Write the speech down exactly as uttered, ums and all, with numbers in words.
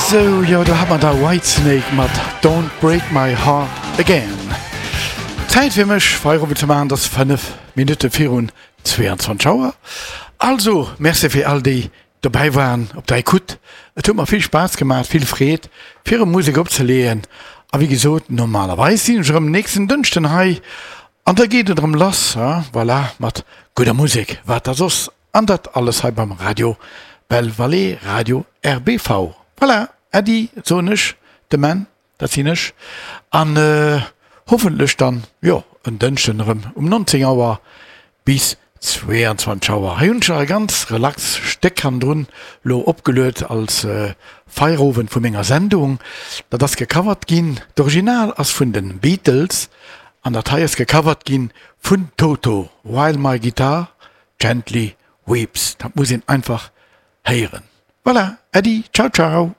Sou, jo, do hat mer da Whitesnake mat Don't Break My Heart Again. Zäit fir mech Feierowend ze maachen, et ass fënnef Minutte virun zweeanzwanzeg Auer. Also, Merci fir all déi dobäi waren op der Ecoute. Et huet mer vill Spaass gemaach, vill Freed, fir erëm Musek opzeleeën. A wéi gesot, normalerweis sinn ech erëm nächsten Dënschden hei an da geet et erëm lass, voilà, mat gudder Musek, wat da soss, an dat alles hei beim Radio Belle Vallée, Radio R B V. Voilà, Äddi soen ech, de Menn, dat sinn ech, an hoffentlech dann, jo, en Dënschden erëm um nonzéng Auer bis zweeanzwanzeg Auer. Hei hunn ech nach e ganz relax Stéck hannendrun lo opgeluet als Feierowend vu menger Sendung. Dat ass gecovert ginn, d'Original ass vun de Beatles an dat hei ass gecovert ginn vun Toto, While My Guitar Gently Weeps. Dat muss een einfach héieren. Voilà, Äddi, ciao ciao.